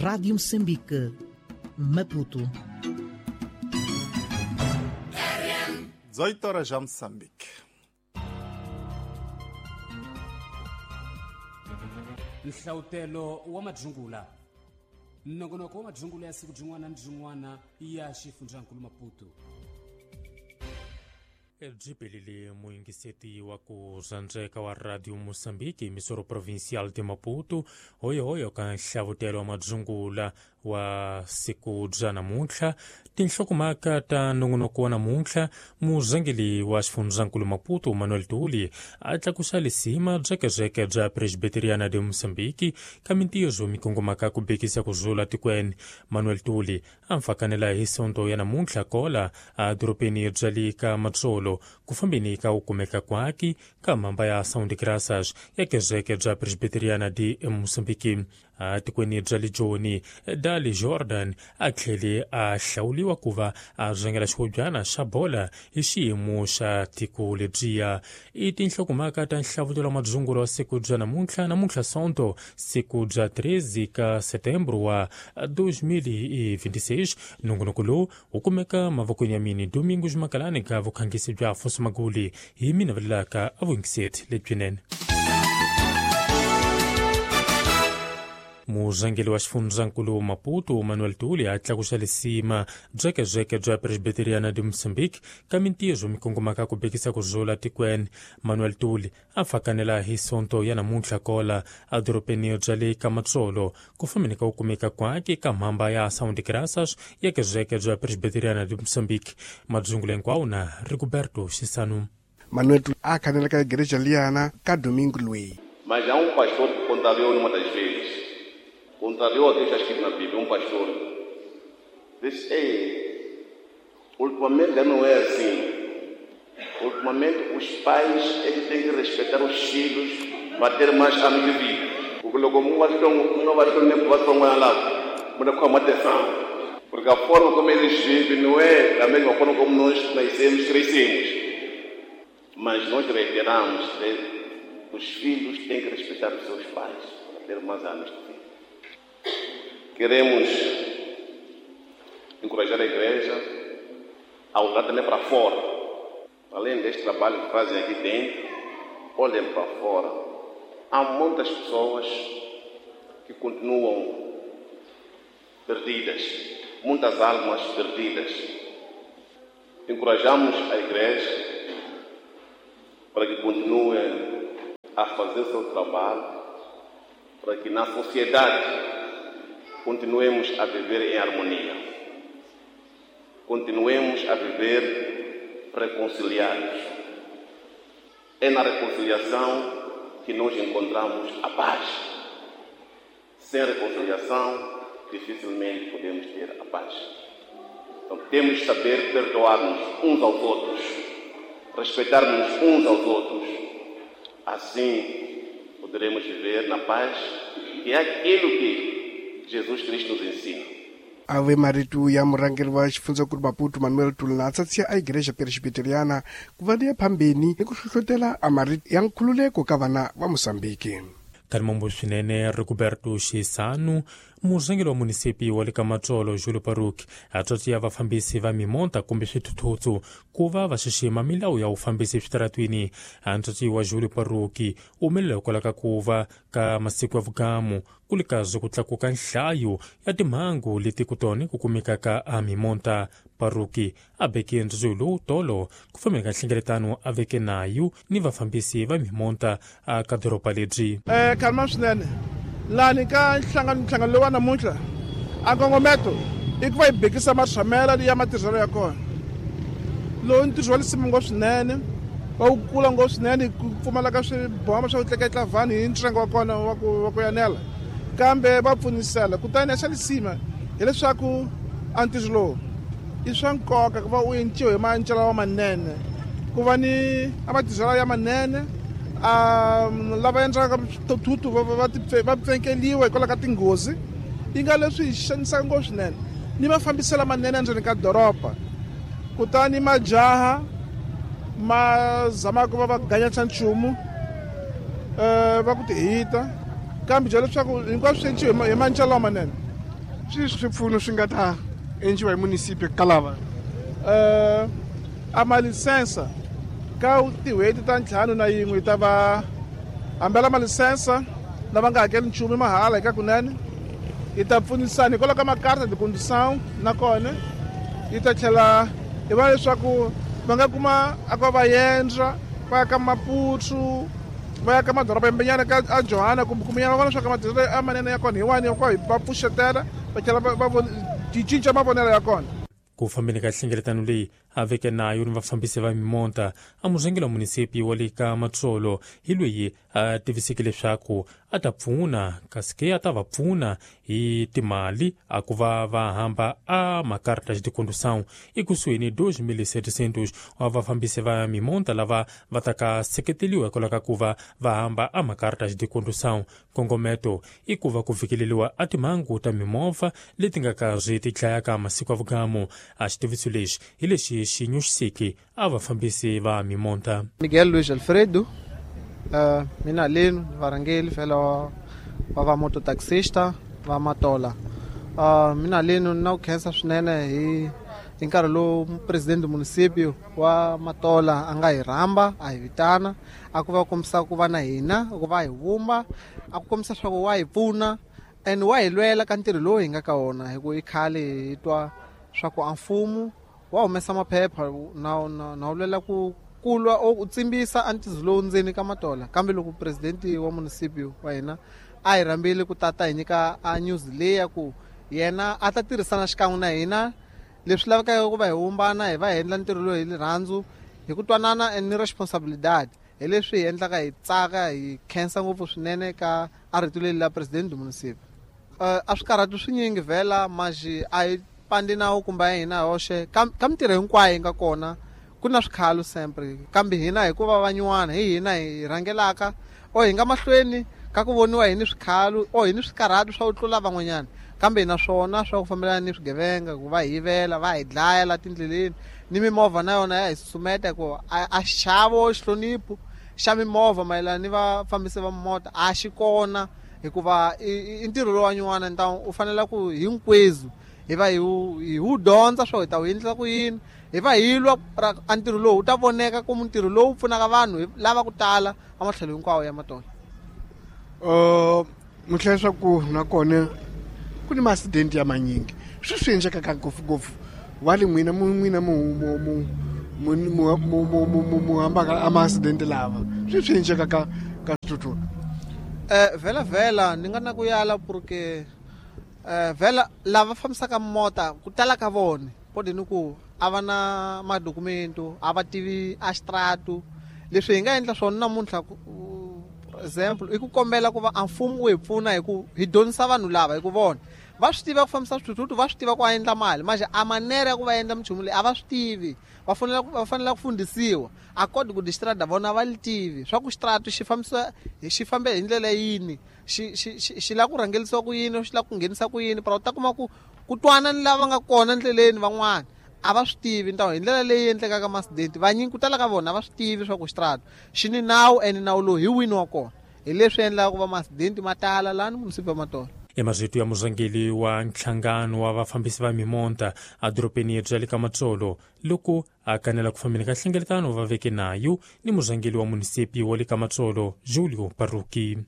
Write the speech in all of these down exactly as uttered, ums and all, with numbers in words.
Rádio Moçambique, Maputo. dezoito horas já Moçambique. Nhlautelo wa madzungula nongonoko wa madzungula ya siku byin'wana ni byin'wana ya xifundzankulu Maputo. Byi muyingiseti wa ku rhandzeka wa Radio Moçambique, emissora provincial de Maputo, hoyohoyo ka nhlavutelo wa madzungula wa siku bya namuntlha. Tinhlokomhaka ta nongonoko wa namuntlha: murhangeri wa xifundzankulu Maputo Manuel Tuli a tlakusa lisima byekebeke bya Presbiteriana de Moçambique ka mintirho mikongomaka ku bekisa ku zula tikweni. Manuel Tuli a mfakanela hi sonto ya namuntlha kola a dorobeni bya le ka Matsolo ku fambeni ka u kumeka kwaki ka mhamba ya Ação de Graças ya kereke bya Presbiteriana de Moçambique. A tikweni bya le Joni Dali Jordan a tlhele a hlawuriwa ku va a rhangela xihobyana xa bola hi xiyimo xa tiko lebyiya. I tinhlokomhaka ta nhlavutelo wa madzungula wa siku bya namuntlha, namuntlha sonto siku bya treze ka setembro wa dois mil e vinte e seis. Nongonoko lowu wu kumeka mavokweni ya mini Domingos Makalani ka vukhangisi bya Afonso Maguli hi mina vulelaka a vuyingiseti lebyinene. Murhangeri wa xifundzankulu Maputo Manuel Tuli a tlakusa lisima byekebeke bya Presbiteriana de Moçambique ka mintirho mikongomaka ku bekisa ku zula tikweni. Manuel Tuli a fakanela hi sonto ya namuntlha kola a dorobeni bya le ka Matsolo ku fambeni ka ku kumeka kwake ka mhamba ya Ação de Graças ya kereke bya Presbiteriana de Moçambique. Madzungula hinkwawo na Rigoberto Xisanu. Manuel Tuli a khanela ka igreja liyana ka domingo loyi. Mas há um pastor que contrariou numa das vezes. Contrariou aquilo que está escrito na Bíblia, um pastor disse: ei, ultimamente já não é assim. Ultimamente os pais é que têm que respeitar os filhos para ter mais anos de vida. Porque logo um vai ter um vai ter um vai ter um lá, mas com atenção. Porque a forma como eles vivem não é da mesma forma como nós nascemos, crescemos. Mas nós reiteramos, os filhos têm que respeitar os seus pais para ter mais anos de vida. Queremos encorajar a igreja a olhar também para fora. Além deste trabalho que fazem aqui dentro, olhem para fora. Há muitas pessoas que continuam perdidas, muitas almas perdidas. Encorajamos a igreja para que continue a fazer seu trabalho, para que na sociedade continuemos a viver em harmonia, continuemos a viver reconciliados. É na reconciliação que nós encontramos a paz. Sem reconciliação, dificilmente podemos ter a paz. Então temos que saber perdoar-nos uns aos outros, respeitar-nos uns aos outros. Assim poderemos viver na paz, que é aquilo que Jesus Cristo nos ensina. Ave marito ya murhangeri wa xifundzankulu Maputo Manuel Tuli na tsatsia a igreja presbiteriana ku va liya phambeni ni ku hlohlotela a marito ya nkhululeko ka vana va Moçambique. Karimombo swinene Rigoberto Xisanu, murhangeri wa munisipi wa le ka Matsolo Julio Paruki a tswatsiya vafambisi va mimonta kumbe swithuthuthu ku va va xixima milawu ya vufambisi eswitaratwini. A ntswatsi wa Julio Paruki u humelela hikwalaho ka ku va ka masiku ya vugamu ku le kazi ku tlakuka nhlayo ya timhangu leti ku tona ku kumekaka a mimonta. Paruki a veke ntswatsi lowu tolo ku fambeni ka nhlengeletano a veke nayo ni vafambisi va mimonta a ka doroba lebyi. Eh, kalma swinene lani ka nhlangano nhlangano lowa namuntlha a nkongometo i ku va hi bekisa maxamela ya matirhelo ya kona. Lowu ntirho wa lisimu ngopfu swinene, wa wu kula ngopfu swinene ku pfumala ka swiboma swa ku tleketla vanhu hi ntsengo wa kona wa ku wa ku yanela, kambe va pfunisela. Kutani xa lisima hileswaku a ntirho lowu i swa nkoka ku va u enciwa hi mancelo lamanene, ku va ni a matirhelo ya manene. Um, lava endlaka swithuthuthu va va va pfenkeliwa hikwalaho ka tinghozi yi nga leswi hi xanisaka ngopfu swinene ni mafambiselo lamanene endzeni ka doroba. Kutani majaha ma zamaka ku va va ganyatsa nchumu um va ku ti hita, kambe bya leswaku hinkwaswo swi enciwa hi mancelo lamanene. Swi swipfuno swi nga ta endliwa hi munisipio ka lava uh, a malisensa ka tin'hweti ta ntlhanu na yin'we yi ta va hambela malisensa lava nga hakeli nchumu mahala eka kunene yi ta pfunisana hikwalaho ka makarta de condução nakona yi ta tlhela hi va leswaku va nga kuma a ku va endla va ya ka Maputo va ya ka madoroba yambenyana ka a Johanna kumbe kumbenyana va vona leswaku matirhelo a manene ya kona hi wani ya va pfuxetela va tlhela va va cinca mavonelo ya kona. Ku fambeni ka nhlengeletano leyi a veke nayo ni vafambisi va mimonta a murhangeri wa munisipi wa le ka Matsolo hi loyi a tiviseke leswaku a ta pfuna kasi ke a ta va pfuna hi timali a ku va va hamba a makarta de condução ekusuhi ni dois mil setecentos wa vafambisi va mimonta lava va ta ka seketeliwa hikwalaho ka ku va va hamba a makarta de condução. Nkongometo i ku va ku fikeleriwa a timhangu ta mimovha leti nga karhi ti dlayaka masiku ya vugamu. A xitiviso lexi hi lexi xi nyuxisiki a vafambisi va mimonta. Miguel Luis Alfredo, uh, mina leno varhangeri fela wa va mototaxista va Matola. Uh, mina leno na ku khensa swinene hi hi nkarhi lowu presidente municipio wa Matola a nga hi rhamba a hi vitana a ku va kombisa ku va na hina ku va hi vumba a ku kombisa swa ku wa hi pfuna and wa hi lwela ka ntirho lowu hi nga ka wona hi ku i khale hi twa swa ku a mfumo wa humesa maphepha na na na lwela ku kulwa o tsimbisa antizo lowu ndzeni ka Matola. Kambe loko presidente wa municipio wa hina a hi rhambile ku tata hi nyika a news leyi ya ku yena a ta tirhisana xikan'we na hina leswi lavekaka ku va hi vumbana hi va hi endla ntirho lowu hi rirhandzu hi ku twanana and ni responsibilidad hi leswi hi endlaka hi tsaka hi khensa ngopfu swinene ka a rito leri la presidente municipio. Uh, a swi karhati swinyingi vhela maxi a hi pandi nawu kumbe ya hina hoxe ka ka mintirho hinkwayo yi nga kona ku na swikhalo sempre kambe hina hikuva van'wana hi hina hi rhangelaka o hi nga mahlweni ka ku voniwa hi ni swikhalo o hi ni swikarhati swa ku tlula van'wanyana kambe na swona swa ku fambelana ni swigevenga ku va hivela va hi dlaya la tindleleni ni mimovha na yona ya hi susumeta ku a xavo xihlonipho xa mimovha mayelana ni vafambisi va mota a xi kona hikuva i ntirho lowu wa nyuwana u fanele ku hinkwenu hi va hi wu dyondza swo hi ta wu endlisa ku yini hi va hi lwa a ntirho lowu wu ta voneka ku ntirho lowu pfunaka vanhu lava ku tala ematlhelo hinkwawo ya Matola. Uh, mutlhela swa ku nakona ku ni ma-accident ya manyingi swi swi endlekaka ngopfungopfu wa le n'wina mu n'wina mu mu mu mu mu mu mu hambaka a ma-accident lava swi swi endlekaka ka swithuthuthu. Eh vhela vhela ni nga na ku yala porque eh vhela lava fambisaka mota ku tala ka vona podi ni ku a va na madokumento a va tivi a xitratu leswi hi nga endla swona namuntlha example i ku kombela ku va a mfumo wu hi pfuna hi ku hi dyondzisa vanhu lava hi ku vona va swi tiva ku fambisa swithuthuthu va swi tiva ku a endla mali manje a manera ya ku va endla minchumu leyi a va swi tivi va fanele va fanele ku fundhisiwa a koti ku distrada vona va li tivi swa ku xitratu xi fambisa xi fambe hi ndlela yini xi xi xi lava ku rhangelisiwa ku yini xi lava ku nghenisa ku yini pero u ta kuma ku ku twana ni lava nga kona endleleni van'wana a va swi tivi ntawo hi ndlela leyi endlekaka ma-accident vanyingi ku tala ka vona a va swi tivi swa ku xitratu xi ni nawu ene nawu lowu hi wini wa kona hi leswi endlaka ku va ma-accident ma tala laha ni munisipi wa Matola. Emazito ya murhangeri wa nhlangano wa vafambisi va mimonta edorobeni bya le ka Matsolo loko a kanela ku fambeni ka nhlengeletano va veke nayo ni murhangeri wa munisipi wa le ka Matsolo Julio Paruki.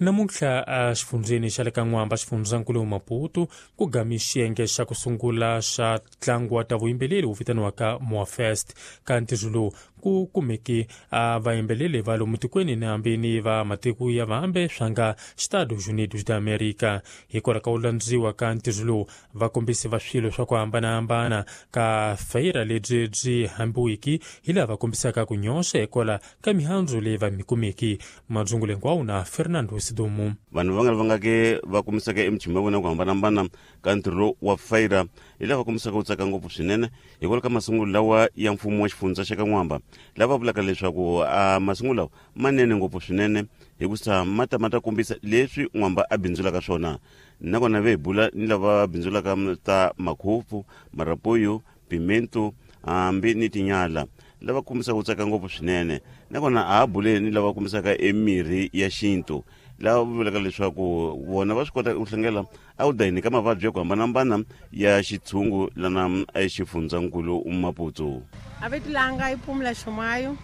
Namuntlha a xifundzeni xa le ka N'wamba xifundzankulu Maputo ku gami xiyenge xa ku sungula xa ntlangu wa ta vuyimbeleri wu vitaniwaka Moafest. Ka ntirho lowu ku kumeke a vayimbeleri va lomu tikweni ni hambi ni va matiko ya vambe swa nga Estados Unidos da America. Hikwalaho ka ku landziwa ka ntirho lowu vakombisi va swilo swa ku hambanahambana ka feyira lebyi byi hambiwiki hi laha va kombisaka ku nyoxa hikwalaho ka mihandzu leyi va mi kumeki. Madzungulo hinkwawo na Fernando Sidumu. Vanhu va nga va nga ke va kumisaka emichumu ya vona ku hambanahambana ka ntirho wa feyira hi laha va kombisaka ku tsaka ngopfu swinene hikwalaho ka masungulo lawa ya mfumo wa xifundza xa ka N'wamba lava vulaka leswaku a masungulo lawa manene ngopfu swinene hikusa ma ta ma ta kombisa leswi N'wamba a bindzulaka swona nakona ve hi bula ni lava bindzulaka ta makhopfu marapoyo pimento hambi ni tinyala lava kombisaka ku tsaka ngopfu swinene nakona a ha buleni ni lava kombisaka emirhi ya xintu Laha vulaka leswaku vona va swi kota ku hlengela a wu dayini ka mavabyi ya ku hambanahambana ya xitshungu lana exifundzankulu Maputo. A vito langa i Pumla Shumayo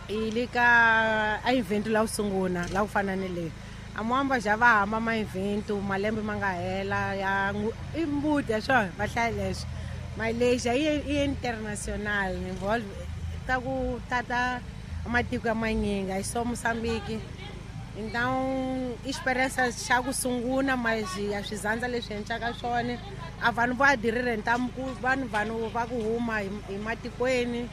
i le ka a event la ku sungula la ku fana ni leyi. A Moamba ja va hamba ma event malembe ma nga hela ya i mbuti ya swona va hlaya leswi. Malaysia i international involve ta ku tata matiko ya manyingi a so Mozambique. Então experiência xa ku sungula mas ya swizandza leswi endlaka swona a vanhu va adirire ntamu ku vanhu vanhu va ku huma hi matikweni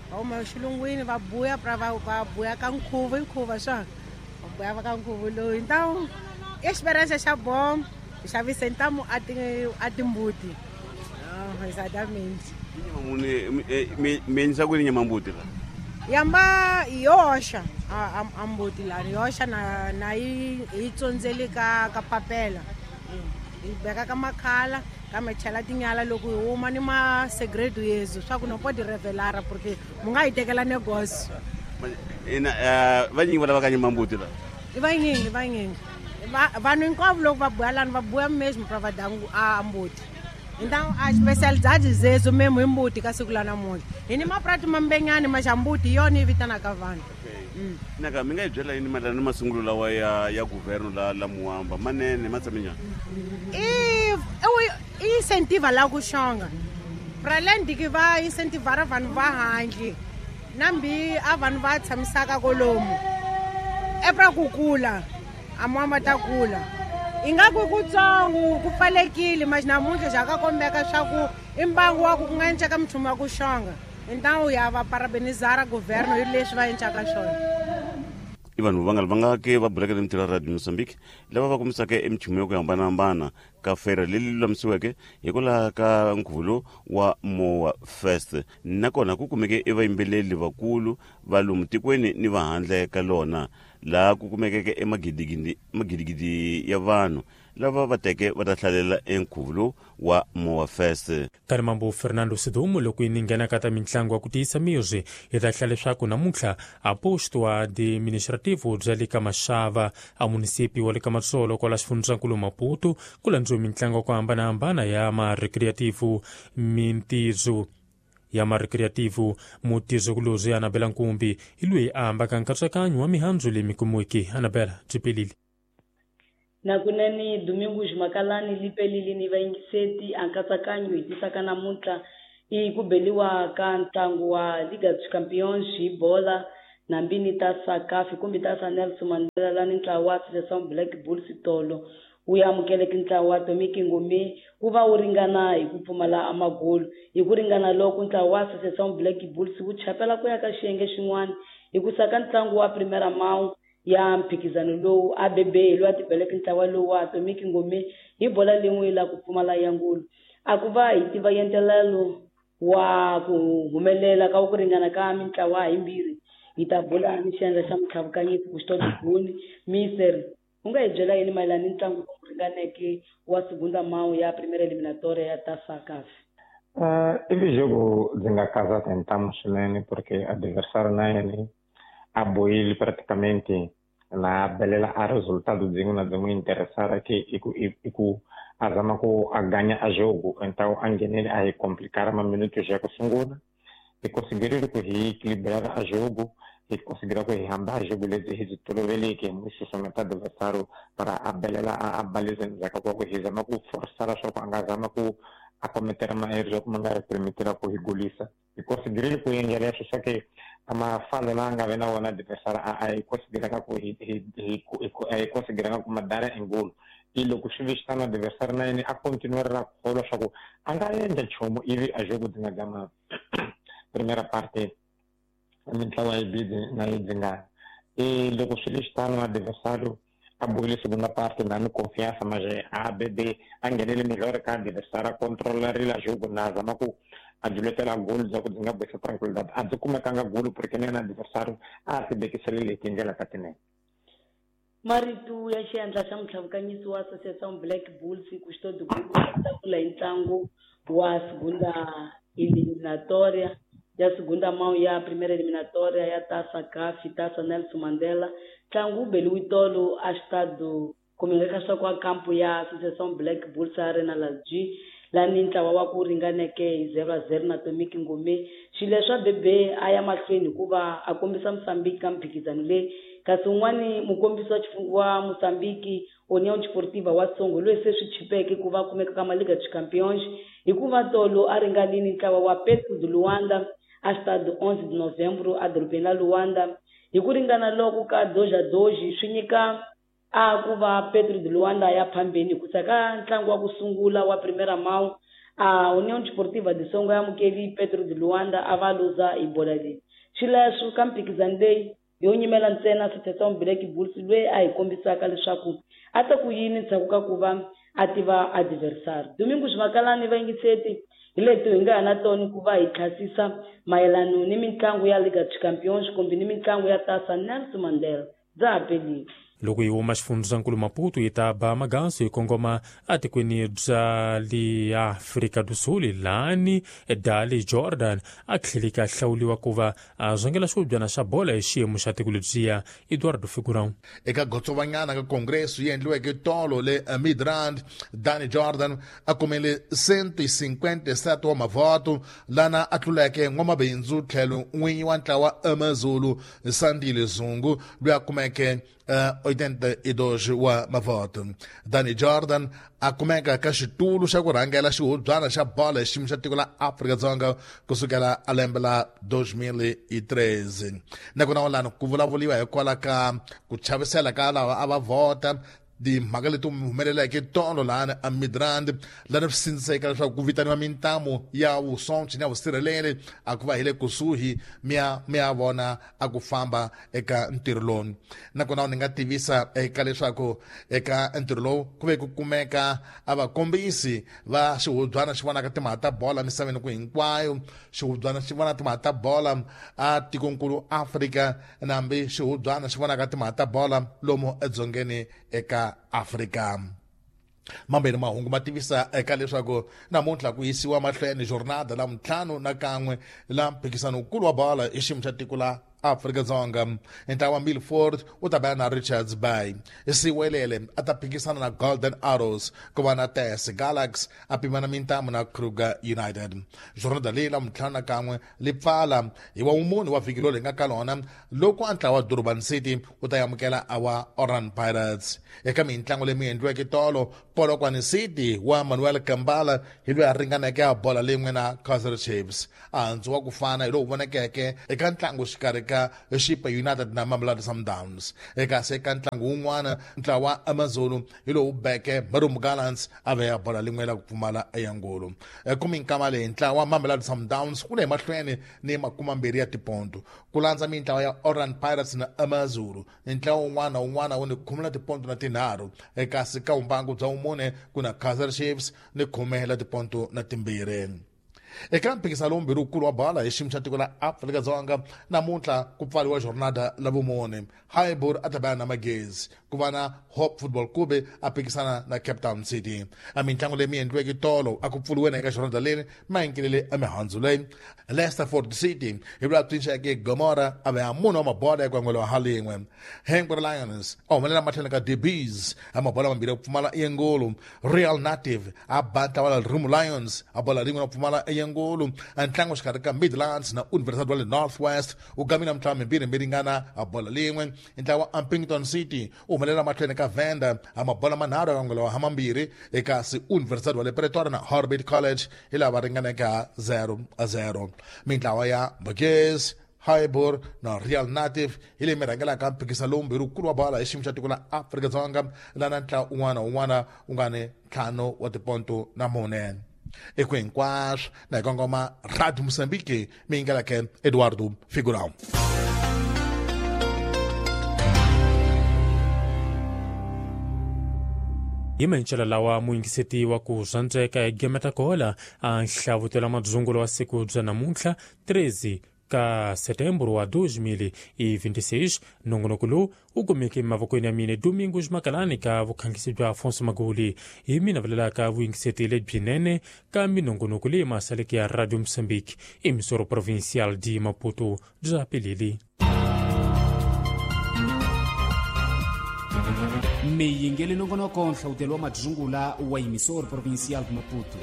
va huma xilungwini va buya pra va va buya ka nkhuvo nkhuvo swona va buya va ka nkhuvo lowu. Então experiência xa bom xavisa ntamu a ti a timbuti. Ah, exatamente. Nyama muni mi endlisa ku yini nyama mbuti la? Yamba yoxa a a mbuti la yoxa na na yi yi tsondzeli ka ka papela yi beka ka makhala kambe chela tinyala loko hi huma ni ma segredo yezu swa ku no pode revelar porque mu nga yi tekela negócio. Ina vanyingi va lava ka nyama mbuti la? I vanyingi vanyingi vanhu hinkwavo loko va buya lani va buya mesmo pra va dya a mbuti. Então a especialidade zezo mesmo i mbuti ka siku la namuntlha hi ni maprati mambenyani ma xa mbuti hi yona yi vitanaka vanhu. Mm. Naka mi nga hi byela yini mayelana ni masungulo lawa ya ya governo la la Moamba manene ma tshame njhani? I i incentiva la ku xonga pra além de que va incentivar vanhu va handle nambi a vanhu va tshamisaka kolomu e pra ku kula a Moamba ta kula ingaku kutsongo ku pfalekile mas namuntlha ja ka kombeka swa ku i mbangu wa ku ku nga enceka mchumu wa ku xonga. Então ya va parabenizar governo hi leswi va encaka swona. I vanhu va nga va nga ke va bulaka ni mintirho ya Radio Mozambique lava va kumisaka emichumu ya ku hambanahambana ka fera leyi lulamisiweke hikwalaho ka nkhuvo lowu wa Moa Fest. Nakona ku kumeke i vayimbeleri vakulu va lomu tikweni ni va handle ka lona laha ku kumekeke emagidigidi magidigidi ya vanhu lava va teke va ta hlalela enkhuvo lowu wa Moa Fest. Karimambo Fernando Sidumo loko yi nghena ka ta mitlangu ya ku tiyisa miri hi ta hlaya leswaku namuntlha a posto administrativo bya le ka Mashava a munisipi wa le ka Matsolo kwala xifundzankulu Maputo ku landziwe mitlangu ya ku hambanahambana ya ma-recreativo mintizo ya ma-recreativo mutizokulozi Anabela Nkumbi hi loyi a hambaka nkatsakanyo wa mihandzu leyi mi kumiweke. Anabela byi pelile. Nakunene Domingos Makalani lipelile ni vayingiseti a nkatsakanyo hi tisaka namuntlha i ku beliwa ka ntlangu wa Liga dos Campeões hi bola nambini ta Sakafi kumbe ta sa Nelson Mandela lani ntlawa wa Associação Black Bulls tolo wu amukeleke ntlawa wa Tomiki Ngome wu va wu ringana hi ku pfumala amagolo hi ku ringana loko ntlawa wa Associação Black Bulls wu chapela ku ya ka xiyenge xin'wana hi ku saka ntlangu wa Primeira Mão ya mphikizano lowu A B B hi loyi a tibeleke ntlawa lowu wa Tomiki Ngome hi bola lin'we la ku pfumala ya ngulu. A ku va hi tiva yentelelo wa ku humelela ka ku ringana ka mintlawa himbirhi hi ta bula ni xiyenge xa mutlhavukanyisi Custódio Guni. Mister, u nga hi byela yini mayelana ni ntlangu lowu ringaneke wa Segunda Mão ya Primeira Eliminatória ya Taça C A F? Uh, i jogo ndzi nga kaza tentamu swinene porque adversário na yena a bohile praticamente na belela a resultado dzin'we na dzin'we interessar que i ku i ku a zama ku a ganha a jogo, então a nghenele a hi complicar ma minutos ya ku sungula hi conseguirile ku hi equilibrar a jogo hi conseguir ku hi hamba a jogo lebyi hi byi toloveleke hi susumeta adversário para a belela a baliza endzhaku ka ku hi zama ku forçar leswaku a nga zama ku a cometer ma erros ku ma nga ri permitira ku hi golisa. Hi conseguirile ku endla leswo swa ke a mafalo lawa nga ve na wona adversário a a hi conseguiranga ku hi hi hi a hi conseguiranga ku madara engolo i loko swi vi xitano adversário na yena a continuer ra kholwa swa ku a nga endla nchumu ivi a jogo dzi nga gama primeira parte mintlawa yi bidi na yi dzingana i loko swi ri xitano adversário a bohile segunda parte na ni confiança mas a B B a nghenele melhor ka adversário a controlarile a jogo na zama ku a juletela gol bya ku byi nga bohisa tranquilidade a byi kumekanga golo porque na yena adversário a ti bekiselele hi tindlela ta tinene. Marito ya xiendla xa mutlhavukanyisi wa Associação Black Bulls Custódio Guni tlakula hi ntlangu wa Segunda Eliminatória ya segunda mão ya primeira eliminatória ya Taça C A F, Taça Nelson Mandela. Ntlangu wu beliwe tolo a xitado kumbe kwa kampo ya Associação Black Bulls Arena la G lani ntlawa wa ku ringaneke hi zero a zero na Tomiki Ngome. Xileswi Bebe a ya mahlweni hikuva a kombisa Mozambique ka mphikizano leyi, kasi un'wani mukombisi wa wa Mozambique União Desportiva wa Tsongo loyi se swi chipeke ku va kumeka ka Liga dos Campeões hikuva tolo a ringanile ntlawa wa Petro de Luanda a Estado onze de Novembro a dorobeni la Luanda. Hi ku ringana loko ka doja doji swi nyika a ku va Petro de Luanda ya phambeni ku saka ntlangu wa ku sungula wa primeira mão a União Desportiva de Songo ya amukeli Petro de Luanda a va luza hi bola leyi. Xileswo ka mphikizano leyi yo nyimela ntsena Associação Black Bulls loyi a hi kombisaka leswaku a ta ku yini ndzhaku ka ku va a tiva adversário. Domingo Swimakalani vayingiseti hi leti hi nga ha na tona ku va hi tlhasisa mayelano ni mitlangu ya Liga dos Campeões kumbe ni mitlangu ya Taça Nelson Mandela. Bya ha pelile. Loko yi huma xifundzankulu Maputo yi ta ba maganso yi kongoma atikweni bya le Afrika do Sul lani Dali Jordan a tlheleka a hlawuriwa ku va a zwangela xihubyana xa bola hi xiyimo xa tiko lebyiya. Eduardo Figurão. Eka gotsovanyana ka kongreso yi endliweke tolo le Midrand, Dani Jordan a kumele cento e cinquenta e sete wa mavoto lana a tluleke n'wamabindzu tlhelo n'winyi wa ntlawa Amazulu Sandile Zungu loyi a kumeke Uh, oitenta e dois wa mavoto. Dani Jordan a kumeka ka xitulu xa ku rhangela xihubyana xa bola hi xiyimo xa tiko la Afrika-Dzonga kusukela a lembe la dois mil e treze. Nakona lani ku vulavuriwa hikwalaho ka ku chavisela ka lava a va vhota timhaka leti humeleleke tolo lani a Midrand lani swi sindziseka leswaku ku vitaniwa mintamu ya vusocha na vusirheleri a ku va hi le kusuhi mi ya mi ya vona a ku famba eka ntirho lowu. Nakona ni nga tivisa eka leswaku eka ntirho lowu ku ve ku kumeka a vakombisi va xihubyana xi vonaka timhaka ta bola misaveni ku hinkwayo, xihubyana xi vona timhaka ta bola a tikonkulu Afrika nambi xihubyana xi vonaka timhaka ta bola lomu edzongeni eka Afrika. Mambirhi mahungu ma tivisa eka leswaku namuntlha ku yisiwa mahlweni jornada la ntlhanu na kan'we la mphikizano wukulu wa bola hi xiyimo xa tiko la Afrika-Dzonga. Ntlawa wa Milford wu ta bela na Richards Bay, Siwelele a ta phikisana na Golden Arrows, ku va na T S Galaxy a pimana mintamu na Kruger United. Jornada leyi la ntlhanu na kan'we li pfala hi wa wumune wa vhiki lowu hi nga ka lona loko a ntlawa wa Durban City wu ta amukela a wa Orlando Pirates. Eka mintlangu leyi mi endliweke tolo, Polokwane City wa Manuel Kambala hi loyi a ringaneke a bola lin'we na Kaizer Chiefs. A handzu wa ku fana hi lowu vonekeke eka ntlangu xikarhi ka Chipa United na Mamelodi Sundowns. Eka se ka ntlangu wun'wana ntlawa wa Amazulu hi lowu beke Marumo Gallants a veya bola lin'we la ku pfumala eyangulu. Kuminkama leyi ntlawa wa Mamelodi Sundowns ku le mahlweni ni makumambirhi ya tiponto ku landza mintlawa ya Orlando Pirates na Amazulu. Ntlawa wun'wana wun'wana wu ni khume la tiponto na tinharhu, kasi ka vumbangu bya vumune ku na Kaizer Chiefs ni khume la tiponto na timbirhi. Eka mphikizano lowu wukulu wa bola hi xiyimo xa tiko la Afrika-Dzonga namuntlha ku pfariwa jornada la vumune. Highbury a ta bela na Magezi, ku va na Hope Football Club a phikisana na Cape Town City. A mintlangu leyi mi endliweke tolo a ku pfuriwe na eka jornada leyi ma a mihandzu leyi. Leicesterford City hi vula tshinxeke Gomora a veya munhu wa mabola ya kwangwelo wa halin'we. Hengwe Lions a humelela matlhelo ka D Bs a mabola mambirhi ya ku pfumala eyengulu. Real Native a ba ntlawa la Rumu Lions a bola rin'we na ku pfumala eyengulu. Ntlangu xikarhi ka Midlands na University wa le North West wu gamile mitlawa mimbirhi mi ringana a bola lin'we. Ntlawa wa Ampington City wu humelela mahlweni ka Venda a mabola manharhu ya kwangwelo wa hamambirhi, ekasi University wa le Pretoria na Orbit College hi lava ringaneke ha zero a zero. Mintlawa ya Magezi, Highbury na Real Native hi leyi mi rhangelaka mphikizano lowu mbirhi wukulu wa bola hi xiyimo xa tiko la Afrika-Dzonga lana ntlawa un'wana na un'wana wu nga ni ntlhanu wa tiponto na mune. Eku hinkwaswo na hi kongoma Radio Mozambique mi yingeleke Eduardo Figurão. Hi mancela lawa muyingiseti wa ku zwandzeka hi gemeta kola a nhlavutelo madzungulo wa siku bya namuntlha treze ka setembro wa dois mil e vinte e seis. Nongonoko lowu wu kumeke emavokweni ya mina Domingos Makalani ka vukhangisi bya Afonso Maguli. Hi mina vulelaka vuyingiseti lebyinene ka minongonoko leyi masaleke ya Radio Moçambique, emissora provincial de Maputo. Bya peleli. Miyingeli nongonoko nhlawutelo wa madzungula wa emissora provincial de Maputo.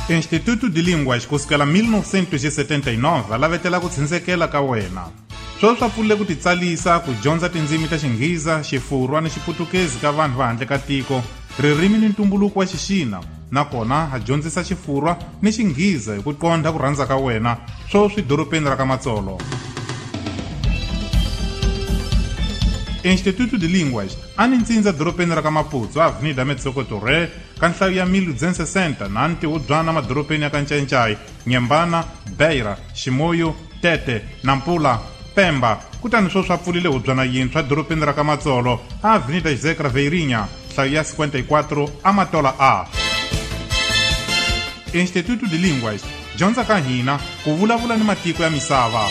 Instituto de Línguas kusukela mil novecentos e setenta e nove a lavetela ku tshunsekela ka wena. Sweswi swa pfulile ku titsalisa ku dyondza tindzimi ta Xinghiza, Xifurwa ni Xiputukezi ka vanhu va handle ka tiko, ririmi ni ntumbuluko wa Xixina, nakona ha dyondzisa Xifurwa ni Xinghiza hi ku qondha ku rhandza ka wena, sweswi dorobeni ra ka Matsolo. Instituto de Línguas a ni ntsindza dorobeni ra ka Maputo, Avenida Metsoko Torre, ka nhlayo ya mil duzentos e sessenta na ntihubyana madorobeni ya ka Ncancai, Nyembana, Beira, Ximoyo, Tete, Nampula, Pemba. Kutani sweswi swa pfulile hubyana yintshwa dorobeni ra ka Matsolo, Avenida José Craveirinha, nhlayo ya cinquenta e quatro, Amatola A. Instituto de Línguas, dyondza ka hina ku vulavula ni matiko ya misava.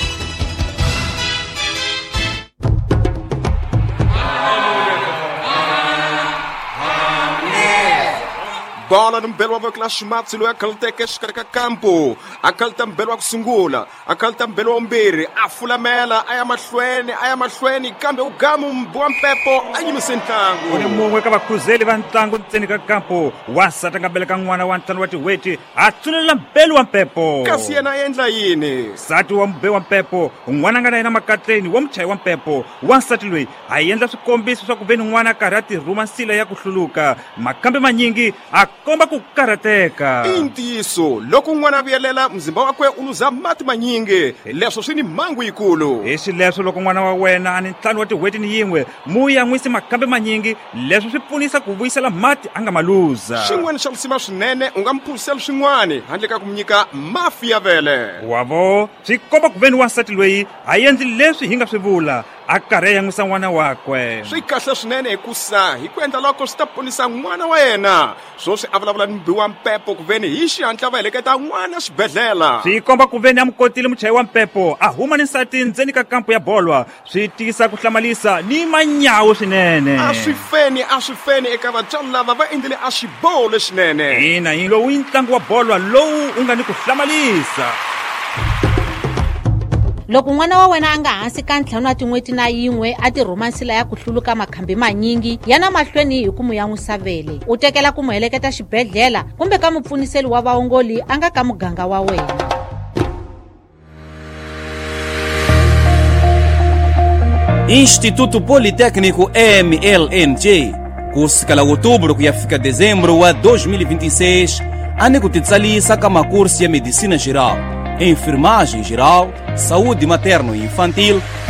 Bola ni mbelo wa vekela ximatsi loyi a khaluteke exikarhi ka kampo, a khaluta mbelo wa ku sungula, a khaluta mbelo wa vumbirhi, a fulamela a ya mahlweni a ya mahlweni, kambe u gamu wa mpepo a yimise ntlangu. U ni mun'we ka vakhuzeli va ntlangu ntseni ka kampo, wansati a nga beleka n'wana wa ntlhanu wa tin'hweti a tsunelela mbelo wa mpepo. Kasi yena a endla yini? Nsati wa mube wa mpepo, n'wana a nga na yena makatleni wa muchayi wa mpepo. Wansati loyi a endla swikombiso swa ku ve ni n'wana a karhi a tirhuma nsila ya ku hluluka, makambe manyingi a komba ku karhateka. I ntiyiso, loko n'wana a vuyelela muzimba wakwe u luza mati manyingi, leswo swi ni mhangu yikulu. Hi xileswo loko n'wana wa wena a ni ntlhanu wa tin'hweti ni yin'we, mu yan'wisi makambe manyingi, leswo swi pfunisa ku vuyisela mati a nga ma luza. Xin'wana xa risima swinene, u nga mi phuzisela swin'wana handle ka ku mi nyika mafi ya vele. Wavo, swi komba ku ve ni wansati loyi a endli leswi hi nga swi vula, a karhi a yan'wisa n'wana wakwe. Swi kahle swinene hikusa hi ku endla loko swi ta ponisa n'wana wa yena. Sweswi a vulavula ni mubi wa mpepo ku veni hi xihatla va heleketa n'wana xibedhlele. Swi komba ku veni a mu kotile muchayi wa mpepo a huma ni nsati ndzeni ka kampo ya bolwa, swi tiyisa ku hlamalisa ni manyawu swinene. A swi feni, a swi feni eka vatswari lava va endlile a xiboho lexinene. Ina, hi lowu i ntlangu wa bolwa lowu u nga ni ku hlamalisa. Loko n'wana wa wena a nga hansi ka ntlhanu wa tin'hweti na yin'we a tirhuma nsila ya ku hluluka makhambi manyingi, yana mahlweni hi ku mu yan'wisa vele, u tekela ku mu heleketa xibedhlele kumbe ka mupfuniseli wa vaongoli a nga ka muganga wa wena. Instituto Politécnico M L N J, kusukela outubro ku ya fika dezembro wa dois mil e vinte e seis, a ni ku titsalisa ka makurso ya medicina geral, enfermagem geral, saúde materno e infantil,